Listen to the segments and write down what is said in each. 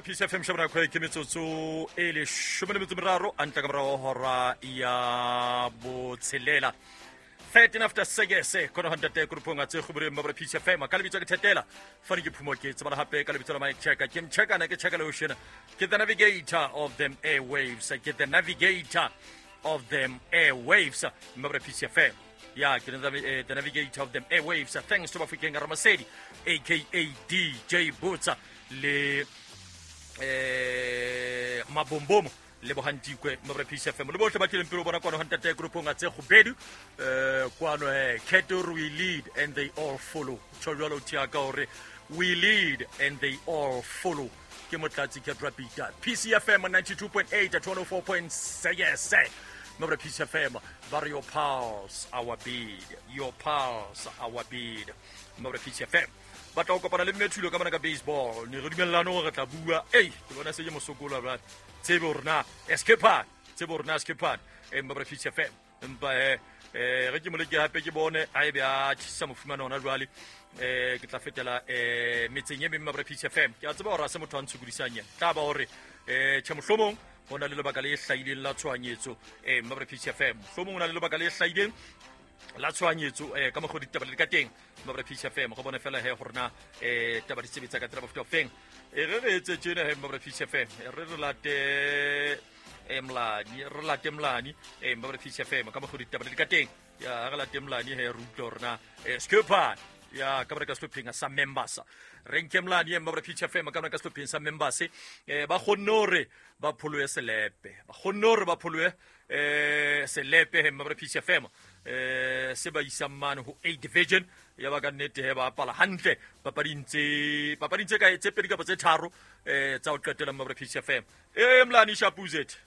Peace FM shabana kgwe ke metsotso e leshome le metso meraro a ntla ka morago hora ya botshelela 13 after sekese khona go ntate kurupong a tse kgoboreng mabra Peace FM ka lebitso ke thetela fane ke phumo ke tsebala hape ka lebitso la Mike Checker ke mchekana ke checker ocean ke the navigator of them airwaves ke the navigator of them airwaves mabra Peace FM ya ke the navigator of them airwaves. Thanks to Bafokeng Ramasedi aka DJ Botsa le Mabombomo le bogantikwe mo re Peace FM le botlhe ba tlileng pele bona kwano gantate groupong a tse gobedu kwano ketor we lead and they all follow. Tjho jwalo thia ka hore we lead and they all follow. Ke motlatsi ke rapita PCFM 92.8 at 104.6 mo re Peace FM ba re your pulse our beat, your pulse our beat. Mo re Peace FM ba tla go kopana le mme Thulo ka mona ka baseball. Ne re dumellane hore re tla bua. Ei, ke bona se ke mosokola brother. Tsebe hore na escape, tsebe hore na escape. Mo re Peace FM empa re ke moleke hape ke bone a ebe a tjhisa mofumana hona jwale. Ke tla fetela metseng e meng mo re Peace FM. Ke a tseba hore ha se motho a ntshokodisang yena. Tla ba hore tjhe mohlomong ho na le lebaka le hlahileng la tshohanyetso mo re Peace FM. Mohlomong ho na le lebaka le hlahileng la tshohanyetso ka mokgwa ditaba le ka teng mo re Peace FM. Go bone fela he gore na taba di sebetsa ka tsela mofuta ofeng. Re re etse tjena he mo re Peace FM. Re re late Mlani, re late Mlani mo re Peace FM ka mokgwa ditaba le ka teng. Ya re late Mlani he re utlwe hore na Skipper ya ka ka sehlopheng sa members. Re nke Mlani mo re Peace FM ka ka sehlopheng sa members. Ba kgonne hore ba pholohe selepe. Ba kgonne hore ba pholohe selepe he mo re Peace FM. Se ba isang mane ho A division ya ba ka nnete he ba bapala hantle papading tse kae tse pedi kapa tse tharo tsa ho qetela mo re Peace FM. Mlani Shapuzet.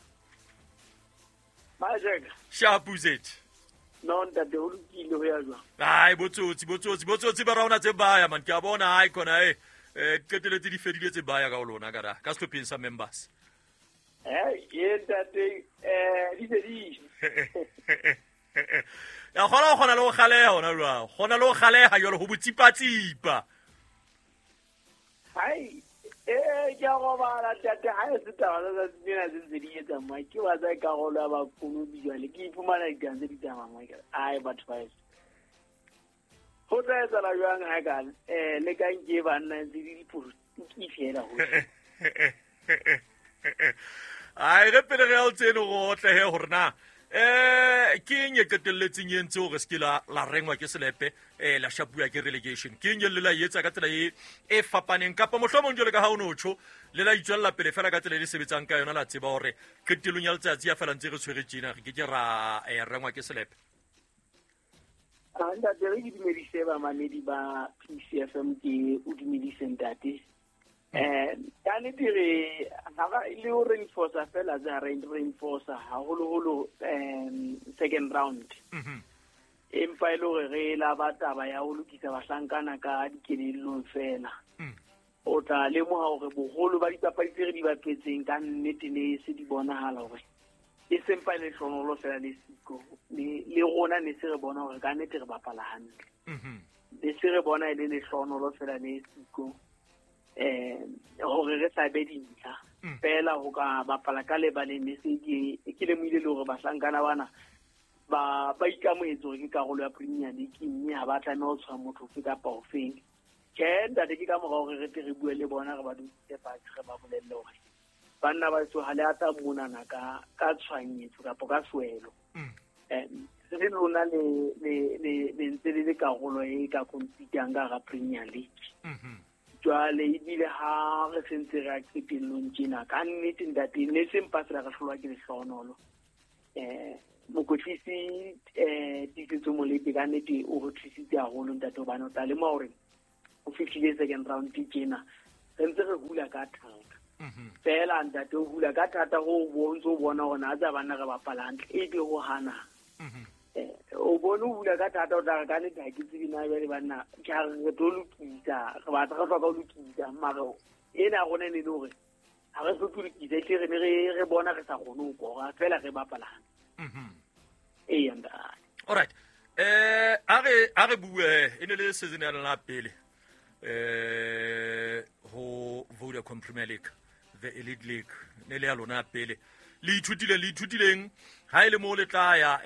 Majeka. Shapuzet. No ntate ho lokile ho ya jwang? Ai botsotsi ba rona tse baya man ke a bona ai khona qeteletse di fedile tse baya ka ho lona ka ka sehlopheng sa members. Ye ntate di se di. Ya khona le ho kgaleha hona jwang? Khona le ho kgaleha jwalo ho botsipatsipa. Hai ke a robala ntate ha e se taba tsa tsena tse ntse di etsa mo ke wa tsa karolo ya bakonobi jwale ke iphumana ditaba tse di tsamayang mo ai batho ba eso. Ho tla etsahala jwang ha ka le ka nke banna ntse di dipolotiki fela ho. Ai re pele re ya o tsene go otle he hore na ke eng e qetelletseng e entse hore se ke la rengwa ke selepe la shapuwa ke relegation. Ke eng e le la etsa ka tsela e fapaneng kapa mohlomong jwale ka ha o no tjho le la itswella pele fela ka tsela e le sebetsang ka yona la tseba hore qetellong ya letsatsi ya fela ntse re tshwere tjena re ke ke ra rengwa ke selepe. Ntate re ke dumedise bamamedi ba PCFM ke o dumedise ntate. Ka nnete re ha le ho reinforce fela tsa reinforce haholoholo second round. Empa e le hore re la ba taba ya ho lokisa bahlankana ka dikelellong fela. O tla lemoha hore boholo ba dipapadi tse re di bapetseng ka nnete ne se di bonahala hore e sempa le hlonolo fela le siko le rona ne se re bona hore ka nnete re bapala hantle. Ne se re bona e le lehlonolo fela le siko hore re sa be dintlha fela ho ka bapala ka lebaleng ne se ke lemohile le hore bahlankana bana ba ikamohetse hore ke karolo ya Premier League mme ha ba tlameha ho tshwara motho ofe kapa ofeng. Tjhe ntate ke ka mora hore re tle re bue le bona re ba dutse fatshe re ba bolelle hore banna ba so ha le ata monana ka tshwanyetso kapa ka swelo. Re lona le ntse le le karolo e ka compete-ang ka hara Premier League. Jwale ebile ha re sentse re a qetellong tjena ka nnete ntate ne se mpa fela re hlolwa ke lehlohonolo. Mokwetlisi Tiisetso Molepe ka nnete o re thusitse haholo ntate hobane o tla lemoha hore o fihlile second round tjena re ntse re hula ka thata. Fela ntate o hula ka thata ho bontse o bona hore na tsa banna re bapala hantle ebe ho hana. O bone o hula ka thata o tla re ka nnete ha ke tsebe na jwale banna ke ha re tlo lokisa re batla re hloka ho lokisa mara ena rona e ne le hore ha re hloke ho lokisa ehlile re ne re bona re sa kgone ho kora fela re bapala hantle. Eya ntate. All right. A re bue e ne le season ya lona pele ho Vodacom Premier League. The Elite League ne le ya lona ya pele. Le ithutileng ha e le mo le tla ya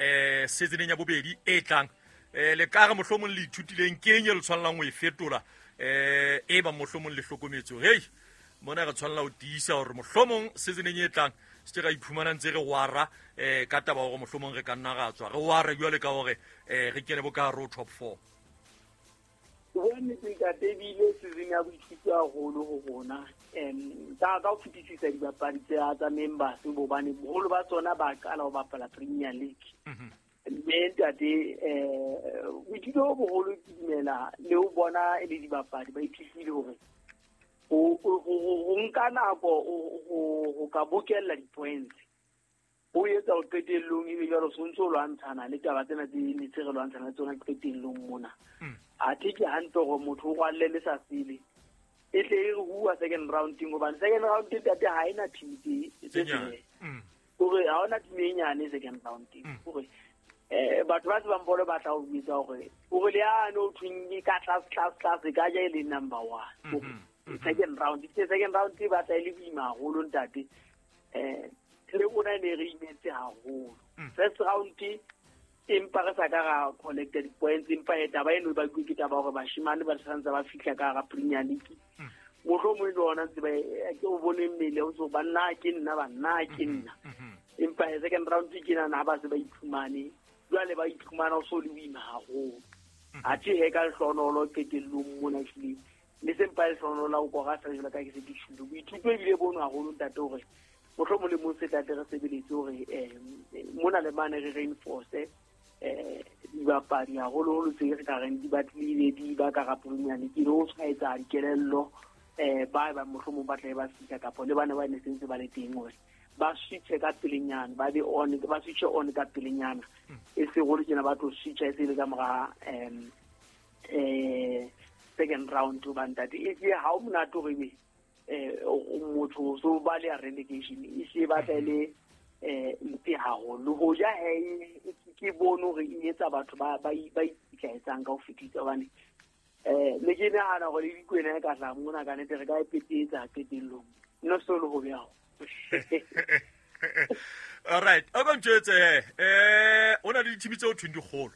seasoneng ya bobedi e tlang, le ka re mohlomong le ithutileng ke eng e le tshwanelang ho e fetola, e ba mohlomong le hlokometse hore hei mona re tshwanela ho tiisa hore mohlomong seasoneng e tlang se ke ra iphumana ntse re wara ka taba hore mohlomong re ka nna ra tswa re ware jwale ka hore re kene bo ka hare ho top 4. Ho bua nnete ntate, ebile season ya boithuto haholo ho rona, ka ho fetisisa dibapadi tsa members, hobane boholo ba tsona ba qala ho bapala Premier League. Mme ntate, boithuto bo boholo ke dumela le ho bona e le dibapadi ba ithutile hore ho nka nako ho ka bokella di-points, ho etsa ho qetellong ebe jwalo so ntso lwantshana le taba tsena tse ne tse re lwantshana le tsona qetellong mona. Athe ke hantle hore motho o rwalle le sa sele e tle e re huwa second round-eng, hobane second round ntate ha ena team tse nyane, hore ha hona team e nyane second round-eng, hore batho ba tsebang bolo ba tla o etsa hore le yane o thweng e ka tlase tlase tlase ka ja e le number 1 second round. Second round e batla e le boima haholo ntate, le rona ne re imetse haholo. First round empa re sa ka ra collect di-points, empa e taba eno e bakuwe ke taba hore bashemane ba santse ba fihla ka hara Premier League. Mohlomong le ona ntse ba ke o bone mmele o so banna ke nna banna ke nna, empa second round ke nana ha ba se ba iphumane jwale, ba iphumana o so le boima haholo. Athe he ka lehlohonolo qetellong mona ehlile le sempa lehlohonolo la ho kora fela jwalo ka ke se ke tjholo. Boithuto ebile bono haholo ntate hore mohlomong le mong se tlate re sebeletse hore mona le mane re reinforce dibapadi haholoholo tse re ka reng di batlile di ba ka Premier League, le ho tshwaetsa dikelello ba ba mohlomong ba tla ba fihla kapa le bana ba ne sentse ba le teng hore ba switche ka pelenyana, ba be on, ba switche on ka pelenyana, e se hore tjena ba tlo switcha e se le ka mora second round. Ba ntate e se ha o monate hore ebe motho so ba le relegation e se batla le mpe haholo. Ho ja he ke bone hore e etsa batho ba ikitlaetsang ka ho fetisa, hobane ne ke nahana hore le dikwena e ka tla mona ka nnete re ka e petetsa qetellong, no so le ho beha. All right, a ka ntjwetse o na le dithimi tse o thweng dikgolo,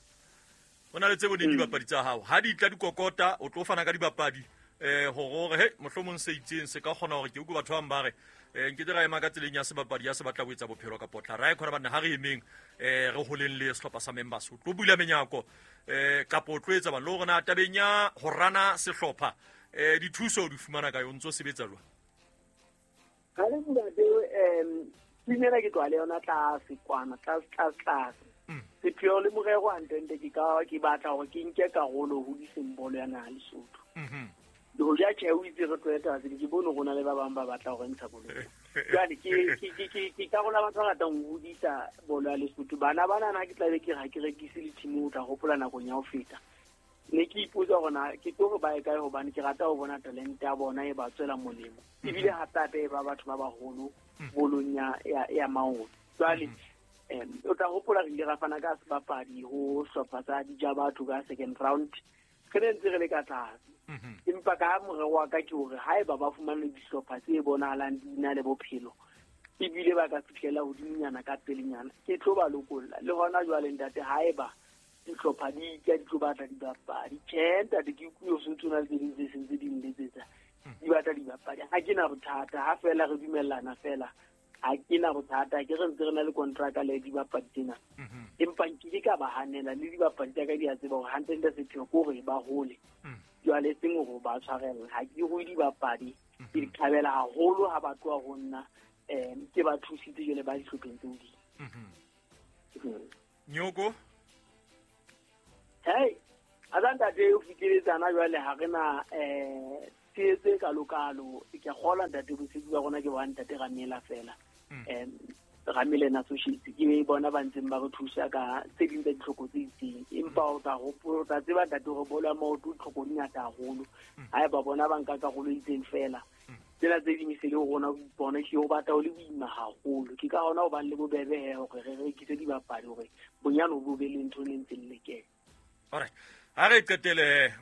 o na le tse boneng dibapadi tsa hao ha di tla dikokota, o tlo fana ka dibapadi hore he mohlomong se itseng se ka kgona hore ke utlwe batho ba bang ba re nkete ra ema ka tseleng ya sebapadi ya se batla ho etsa bophelo ka potla ra e khona banna ha re emeng re holeng le sehlopha sa members, o tlo bula menyako kapa o tlo etsa bang le hore na tabeng ya ho rana sehlopha dithuso o di fumana kae, o ntso sebetsa jwang? Ha le ntate, team ena ke tloha le yona tlase kwana, tlase tlase tlase. Sepheo le morero hantle ke ka ke batla hore ke nke karolo ho hodiseng bolo ya naha Lesotho. Le hoja tjhe o itse re tlohele taba tsena, ke bone rona le ba bang ba batla hore ntsha bolo. Jwale ke karolo ya batho ba ratang ho hodisa bolo ya Lesotho. Bana bana ke tla be ke re ha ke rekise le team, o tla hopola nakong ya ho feta. Ne ke ipotsa hore na ke tlo re ba ye kae, hobane ke rata ho bona talente ya bona e ba tswela molemo. Ebile hape hape e ba batho ba baholo bolong ya maoto. Jwale o tla hopola re ile ra fana ka sebapadi ho hlopha sa Dijabatho ka second round, re ne ntse re le ka tlase. Empa ka morero wa ka ke hore haeba ba fumane dihlopha tse bonahalang di na le bophelo, ebile ba ka fihlela hodimonyana ka pelenyana, ke tlo ba lokolla. Le hona jwale ntate, haeba dihlopha di tla di tlo batla dibapadi, tjhe ntate ke utlwile ho sentse ho na le tse ding tse sentse di nletsetsa, di batla dibapadi, ha ke na bothata, ha feela re dumellana feela, ha ke na bothata, ke re ntse re na le kontraka le dibapadi tsena. Empa nkile ka ba hanela, le dibapadi tsa ka di a tseba hore hantle-ntle sepheo ke hore ba hole. Jwale e seng hore ba tshwarella, ha ke rue dibapadi, ke di thabela haholo ha ba tloha ho nna, ke ba thusitse jwale ba dihlopheng tse hodimo. Nyoko? Hey, a tsa ntate o fikeletsana jwale ha re na tshehetso e kalokalo. Ke a kgolwa ntate bosebetsi ba rona ke ba ntate Ramela fela. Ramela and Associates ke bona ba ntseng ba re thusa ka tse ding tsa ditlhoko tse itseng. Empa o tla hopola, o tla tseba ntate hore bolo ya maoto ditlhoko di ngata haholo. Haeba bona ba nka karolo e itseng fela, tsena tse ding e se le ho rona ho ipona, ehlile ho batla ho le boima haholo. Ke ka hona ho bang le bobebe he hore re rekise dibapadi hore bonyane bo be le ntho e ntseng le kena. Alright. Ha re qetele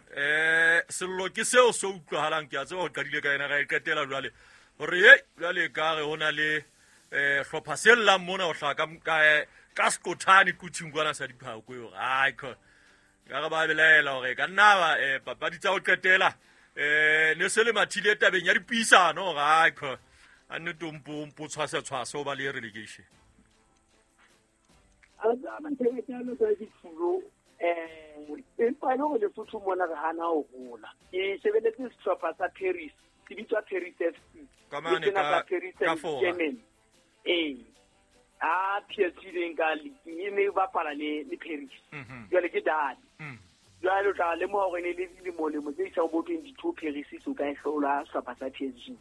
sello ke seo se utlwahalang, ke a tseba ho qadile ka yena, ra e qetela jwale. Hore e jwale ka re ho na le hlopha se llang mona ho hlaha ka sekothane kuthing kwana sa diphako e hore ai ka re ba belaela hore ka nna ba papadi tsa ho qetela ne se le mathile tabeng ya dipuisano hore ai a nnete o mpo tshwase tshwase o ba le relegation. Empa e le hore Lesotho mona re hana ho hola. Ke shebeletse sehlopha sa Paris, se bitswa Paris FC. Ka mane ka Fora. Ee. A PSG leng ka league e ne bapala le Paris. Jwale ke dane. Jwale o tla lemoha hore ne le dilemo-lemo tse isang bo 22 Paris so ka e hlola sehlopha sa PSG.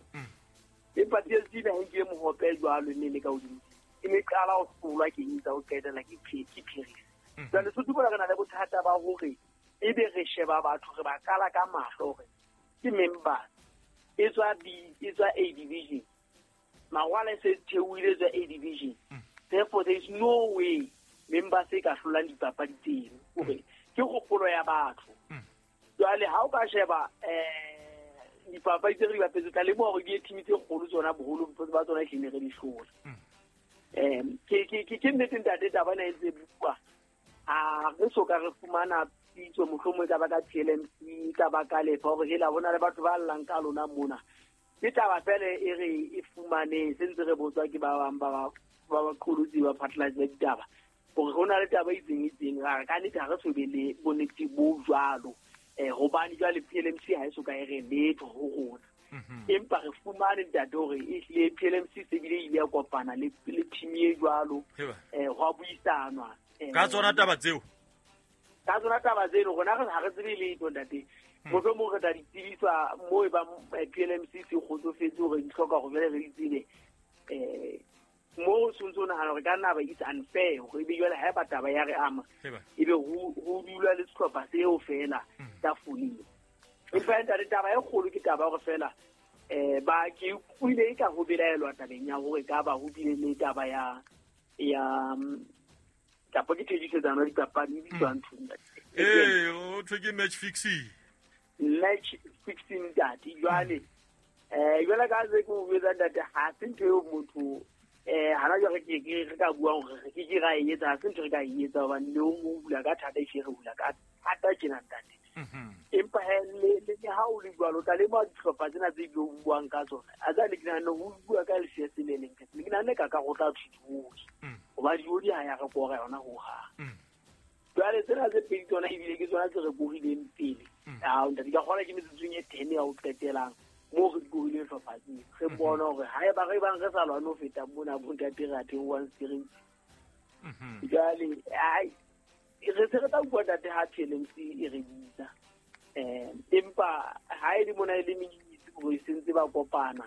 Empa PSG ba nkile mohope jwalo ne le ka hodimo. E ne qala ho hlolwa ke eng tsa ho qetela ke Paris. Jwale Lesotho mona re na le bothata ba hore ebe re sheba batho re ba kala ka mahlo hore ke members e tswa B e tswa A division. Mawala e se theohile tswa A division. Therefore there is no way members e ka hlolang dipapadi tseno. Hore ke kgopolo ya batho. Jwale ha o ka sheba dipapadi tse re di bapetse tla lemoha hore ke team tse kgolo tsona boholo ba tsona ehlile re di hlola. Ke nnete ntate taba ena e ntse bua. A re so ka re fumana pitso mohlomong e ka ba ka TLMC, e ka ba ka lefa hore hela hona le batho ba llang ka lona mona. Ke taba fela e re e fumaneng se ntse re botswa ke ba bang ba baqolotsi ba phatlalatsi ba ditaba hore hona le taba e itseng ra re ka nnete ha re so be le bonnete bo jwalo. Hobane jwale PLMC ha e so ka e re letho ho rona. Empa re fumane ntate hore ehlile PLMC se bile ile ya kopana le team e jwalo, ho a buisanwa. Ka tsona taba tseo? Ka tsona taba tseno rona re ha re tsebe letho ntate. Mohlomong re tla di tsebiswa moo e bang PLMC se kgotsofetse hore di hloka hore jwale re di tsebe. Moo o tshwanetse o nahana hore ka nna ba it's unfair hore ebe jwale ha eba taba ya re ama ebe ho dula le sehlopha seo fela tafoleng. Empa ntate taba e kgolo ke taba hore fela ba ke utlwile e ka ho belaelwa tabeng ya hore ka ba ho bile le taba ya kapa ke thekisetsano ya dipapadi e bitswang ntho. O thwe ke match fixing. Match fixing ntate. Jwale jwale ka se ke o jwetsa ntate ha se ntho eo motho hana jwale ke re ka buang hore re ke ra e etsa, ha se ntho re ka e etsa hobane le o hula ka thata e re hula ka thata tjena ntate. Empa le ha o le jwalo tla lemoha dihlopha tsena tse o buang ka tsona. A tsa le ke nahana ho bua ka LCS le leng ke nahana ka go tla thuthuodi. Hoba diodi ha ya re kora yona ho hang. Jwale tsena tse pedi tsona ebile ke tsona tse re korileng pele. Ah ntate ka kgona ke metsotsong e 10 ya ho qetelang moo re korileng hlopha tseo. Re bona hore ha eba re bang re sa lwane ho feta mona bo ntate re a theohang straight. Jwale ai re se re tla bua ntate ha TLMC e re bitsa. Empa ha e le mona e le menyetsi hore e sentse ba kopana.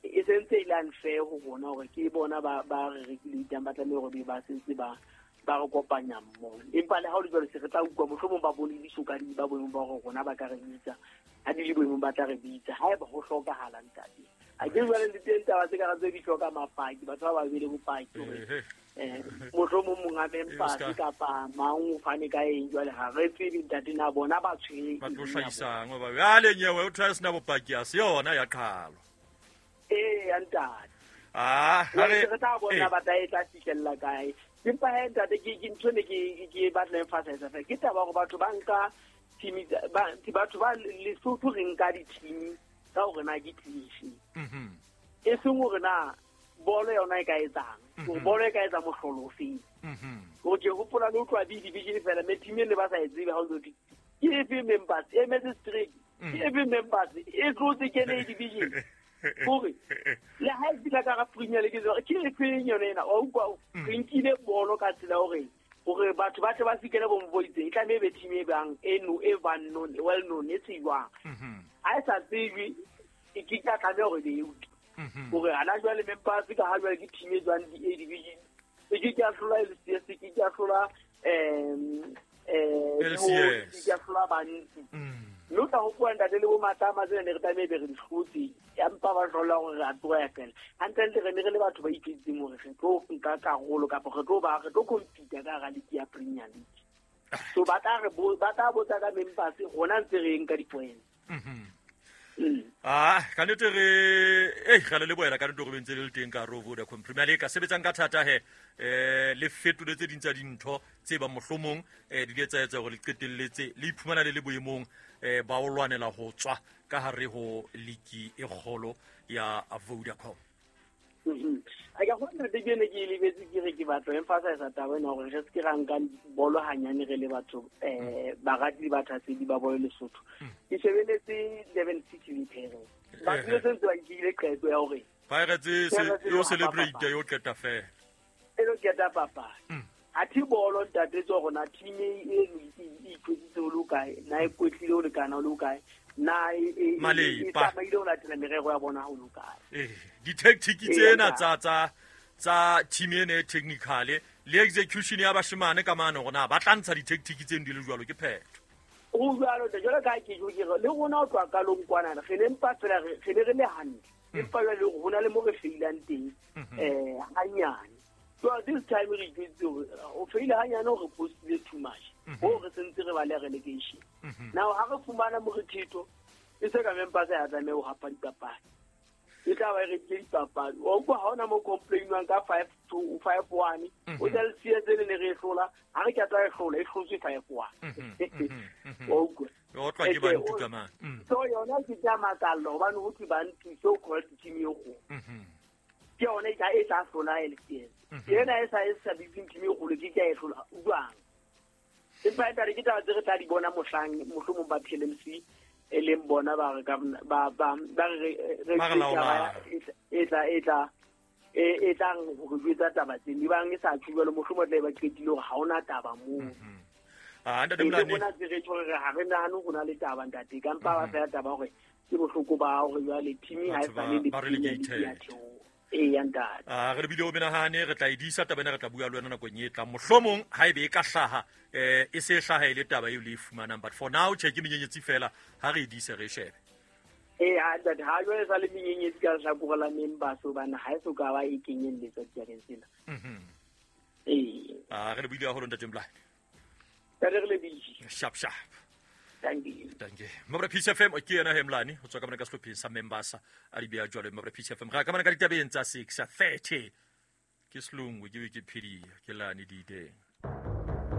E sentse e le unfair ho rona hore ke bona ba re rekile ba tlameha hore ba sentse ba re kopanya mmoho. Empa le ha o le jwalo se re tla utlwa mohlomong ba bone disoka di ba boemong ba hore rona ba ka re bitsa. Ha di le boemong ba tla re bitsa haeba ho hlokahala ntate. A ke jwale le teng taba tse ka re tse di hloka mapaki, batho ba babedi bopaki hore mohlomong monga members kapa mang o fane ka eng jwale ha re tsebe ntate na bona ba tshwere ba tlo hlahisang hoba jwale nyewe o thwa sena bopaki a se yona ya qhalo. Ee ntate. Re tla bona ba tla e tla fihlella kae. Empa he ntate ke ntho ne ke batla emphasize fela ke taba hore batho ba nka team batho ba Lesotho re nka di-team ka hore na ke team efe. E seng hore na bolo yona e ka etsang, hore bolo e ka etsa mohlolo ofeng. Hore ke hopola le utlwa B division fela me team e ne ba sa e tsebe ha o ntso ke efe members e emetse straight, ke efe members e tlotse ke A division. Hore le ha e fihla ka Premier League ke efeng yona ena wa utlwa re nkile bolo ka tsela hore hore batho ba tle ba fikele bo mboitse e tlameha be team e bang e no e bang known well known e tsejwang. Ha e sa tsejwe e ke tla tlameha hore be e utlwe. Hore hana jwale members ka ha jwale ke team e jwang di A division e ke ke a hlola LCS ke ke a hlola LCS ke a hlola bantsi. Mme o tla hopola ntate le bo Matlama tsena ne re tlameha be re di hlotse empa ba hlola hore re a tloha fela. Hantlentle re ne re le batho ba iketseng hore re tlo nka karolo kapa re tlo compete ka hara league ya Premier League. So ba tla botsa ka members rona ntse re nka di-points. Ah, ka nnete re ei ga le leboela ka nnete gore bentse le le teng ka hare ho Vodacom Premier League. Ka sebetsang ka thata he le fetole tse ding tsa dintho tse bang mohlomong di ile tsa etsa hore le qetelletse le iphumana le le boemong ba ho lwanela ho tswa ka hare ho liki e kgolo ya Vodacom. A ka gona ke ne ke lebetse ke re ke batla emphasize taba ena gore re se ke ra nka bolo hanyane re le batho barati le bathasedi ba bolo Lesotho. Ke shebeletse Durban City le Pirates. Batho le sentse ba nkile qeto ya hore Pirates yo celebrate yo qeta fela. E lo qeta papadi. Athe bolo ntate tso rona team e ikwetsitse ho le kae, na e kwetlile ho lekana ho le kae, na e tsamaile ho latela merero ya bona ho le kae. Di-tactic tsena tsa team ena e technical le execution ya bashemane ka mane hore na ba tla ntsha di-tactic tseno di le jwalo ke phetho. Ho jwalo jwalo ka ke jo ke re le rona ho tloha qalong kwana re ne mpa fela re ne re le hantle, empa jwale ho na le mo re feilang teng hanyane. So this time re itse hore o feile hanyane hore postile too much. Ho re sentse re ba le relegation. Now ha re fumana morethetho e se ka mempa sa ya tlameha ho hapa dipapadi. E tla ba re ke dipapadi. O utlwa ha ona mo complainwang ka 5-2 5-1. O tla le siya tsene ne re e hlola, ha re ka tla e hlola e hlotswe 5-1. O utlwa. O tla ke ba ntu ka mang. So yona ke tla makalla hobane ho thwe ba ntu so called team e kgolo. Ke yona e tla hlola LCS. Ena e sa bitseng team e kgolo ke ka e hlola jwang. Empa e tla ke taba tse re tla di bona mohlang mohlomong ba PLMC e leng bona ba re ba re e tlang ho re jwetsa taba tse di bang e sa tjho jwalo mohlomong tla ba qetile hore ha ona taba moo. Ntate Mlane bona tse re tjho re ha re nahane ho na le taba ntate ka mpa ba fela taba hore ke bohloko ba hore jwale team ha e sa le le e ntate. Re bile o menahane re tla e disa taba ena re tla bua le wena nakong e tlang mohlomong ha ebe e ka hlaha e se hlaha e le taba eo le e fumanang, but for now che ke menyenyetsi fela ha re e dise re shebe. Ntate ha jwale sa le menyenyetsi ka lehlakore la members hobane ha e so ka ba e kenyelletsa ditabeng tsena. Re le buile haholo ntate Mlane. Ntate re lebile. Sharp sharp. Thank you. Thank you. Mabra Peace FM ke yena Hemlane ho tswa ka mona ka sehlopheng sa Membasa a di beha jwalo Mabra Peace FM. Re ka mona ka ditabeng tsa 6:30. Ke selungu ke Wikipedia ke lane diteng.